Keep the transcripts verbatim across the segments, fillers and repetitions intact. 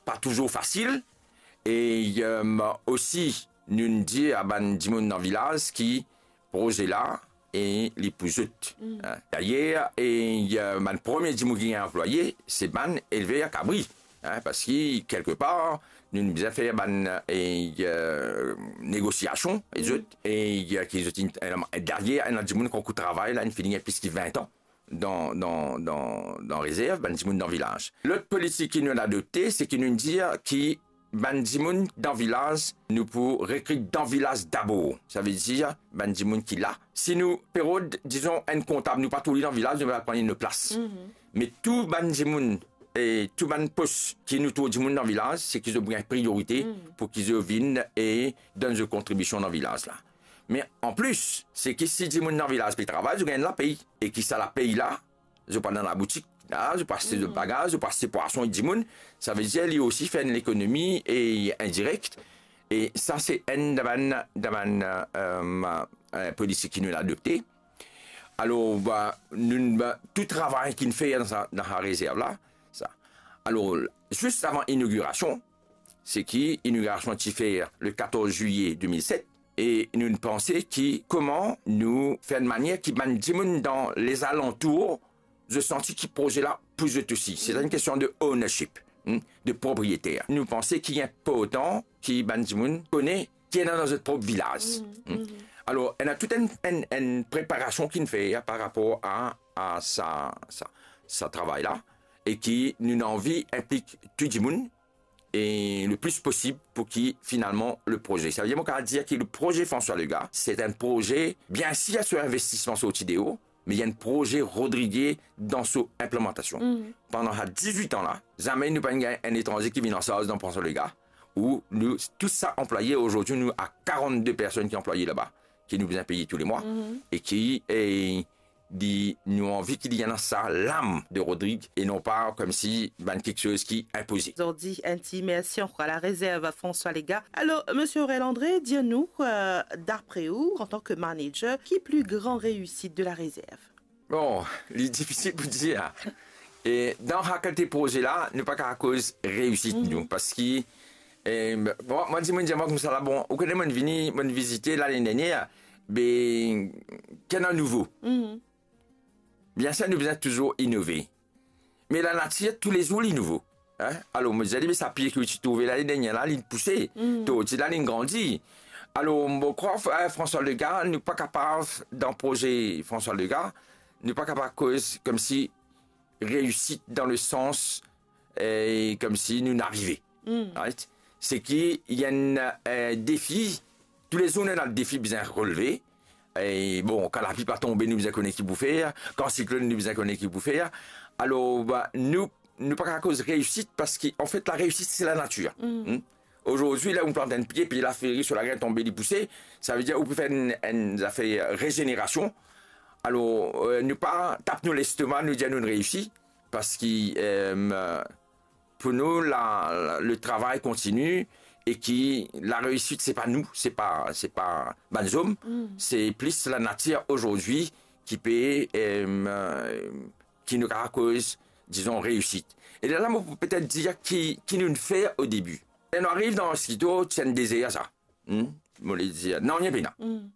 pa touzour fasil, e, em, osi, nou dir a bann dimoun dan vilaz ki proze la, e li pou zot. Mm. Hein. Dayer, e, eh, bann premie dimoun ki gagn anplwaye, se bann elver kabri. Hein, parski, kelkepar, nou, nou bizin fer bann, e, eh, negosiasion, e zot, e, eh, ki zot inn, eh, dayer, ena dimoun ki ankor travay la, inn fini gagn plis ki vin an dan, dan, dan, dan rezerv, bann dimoun dan vilaz. Lot politik ki nou adopte, se ki nou dir ki bann dimoun dan vilaz, nou pou rekrit dan vilaz dabor. Savedir, bann dimoun ki la. Si nou pe rod, dizon, enn kontab, nou pa trouv li dan vilaz, nou va pran li dan plas. Mhm. Me tou bann dimoun, e tou bann pos ki nou trouv dimoun dan vilaz, se ki zot pou gagn priyorite, mhm, pou ki zot vinn e donn zot kontribision dan vilaz la. Me anplis, se ki si dimoun dan vilaz pe travay, zot gagn lapey. E ki sa lapey la, zot pou al dan laboutik la, zot pou aste zot, mhm, bagaz, zot pou aste pwason ek dimoun, savedir li osi fer enn lekonomi e indirek. E sa se enn dan bann, dan bann, em, em, politik ki nou adopte. Alor, ba, nou, ba, tou travay ki nou fer dan sa, dan sa rezerv la, sa. Alor, zis avan inogirasion, se ki inogirasion ti fer le katorz zilye de mil set, e nou panse ki kouma nou fer enn manier ki bann dimoun dan lezalantour, zot santi ki proze la pou zot osi. Se enn kestion de ownership, hmm, de propriyeter. Nou panse ki inportan ki bann dimoun kone ki ena dan zot prop vilaz. Mhm, hmm. Mhm. Alor, ena tou enn, enn, enn preparasion ki nou fer par rapor a, a sa, sa, sa travay la, e ki nou anvi inplik tou dimoun, e le plis posib pou ki finalman le proze. Savedir, mo kapav dir ki le proze François Legace, se enn proze, biensir, so investisman sorti deor, me enn proze Rodrigué dan so inplimantasion. Mhm. Pandan sa diz-wit an la, zame nou pa'nn gagn enn etranze ki vinn ansarz dan François Legace, ou nou, tou sa anplwaye, azordi nou a karant-de personn ki anplwaye laba, ki nou bizin peye tou le mwa, mhm, e ki, e, di, nou anvi ki li ena sa lam de Rodrigue e non pa koumsi bann kiksoz ki inpoze. Zordi, enn ti mersi ankor a la rezerv François Legace. Alor, Misie Aurel André, dir nou, eh, dapre ou, antan ki manager, ki pli gran reisit de la rezerv? Bon, li difisil pou dir. E dan sa kalite proze la, nou pa kapav koz reisit, mhm, nou, parski, eh, bon, mwa, dimoun dir mwa koumsa la, bon, ou kone, mo'nn vini, mo'nn vizite lane dernier, be, ki ena nouvo? Mhm. Biensir, nou bizin touzour inove. Me lanatir, toulezour, li nouvo. Hein? Alor, mo dir li, me sa pie ki ou ti trouve lane dernier la, li pouse. Mm. To, ti la, li grandi. Alor, mo krwar, eh, François Legace, nou pa kapav, dan proze François Legace, nou pa kapav koz koumsi reisit dan le sans, eh, koumsi nou'nn arive. Mm. Right? Se ki, ena, eh, defi, toulezour nou ena defi bizin releve. E bon, kan lapli pa tonbe, nou bizin kone ki pou fer. Kan siklonn, nou bizin kone ki pou fer. Alor, ba, nou, nou pa kapav koz reisit, parski, anfet, lareisit, se lanatir. Mm. Hmm? Azordi, la, ou plant enn pie, pie la fleri, so lagrin tonbe, li pouse, savedir ou pe fer enn, enn zafer rezenerasion. Alor, eh, nou pa tap nou lestoma, nou dir nou'nn reisi, parski, eh, pou nou, la, la, le travay kontini e ki lareisit, se pa nou, se pa, se pa bann zom, mm, se plis lanatir azordi ki pe, eh, ki nou kapav koz, dizon, reisit. E lerla, mo pou petet dir ki, ki nou'nn fer o debi. Ler nou ariv dan Skito, ti enn dezer sa. Hmm? Mo le dir, nanye pena. Mm.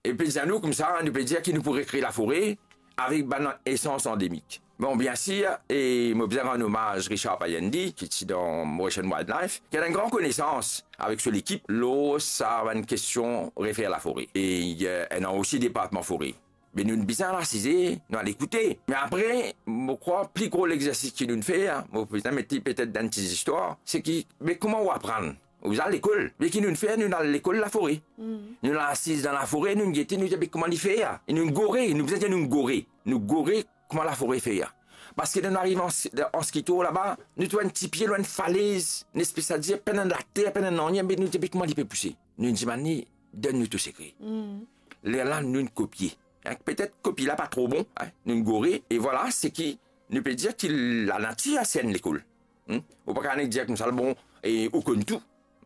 E pe dir nou koumsa, nou pe dir ki nou pou rekre lafore avek bann esans andemik. Bon, biensir, e mo bizin rann omaz Richard Payendi, ki ti dan Mauritian Wildlife, ki ena enn gran konesans avek so lekip lor sa bann kestion refer lafore. E, eh, ena osi departman fore. Me nou bizin al asize, nou al ekoute. Me apre, mo krwar pli gro lexersis ki nou'nn fer, mo bizin met li petet dan enn ti zistwar, se ki, me kouma ou aprann? Ou bizin al lekol. Me ki nou'nn fer, nou'nn al lekol lafore. Mm. Nou'nn al asiz dan lafore, nou'nn gete, nou dir, be kouma li fer? E nou'nn gore, nou bizin dir nou'nn gore. Nou gore kouma lafore fer. Parski ler nou'nn ariv an, an Skito laba, nou trouv enn ti pie lor enn falez, enn espes, savedir, pena later, pena nanye, me nou dir, be kouma li pe pouse? Nou'nn dimann li, donn nou to sekre. Mm. Lerla, nou'nn kopie. Hein, petet kopie la pa tro bon, hein, nou'nn gore, e vwala, se ki nou pe dir ki lanatir, se enn lekol. Hmm? Ou pa kapav nek dir koumsa, bon, e ou konn tou.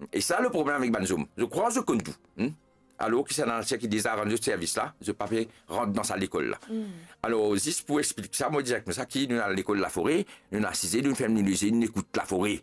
E sa le problem avek bann zom. Zot krwar zot konn tou. Hmm? Alor ki se lanatir ki deza rann zot servis la, zot pa pe rant dan sa lekol la. Hmm. Alor, zis pou explik sa, mo dir koumsa ki nou'nn al lekol lafore, nou'nn asize, nou'nn ferm nou lezye, nou'nn ekout lafore.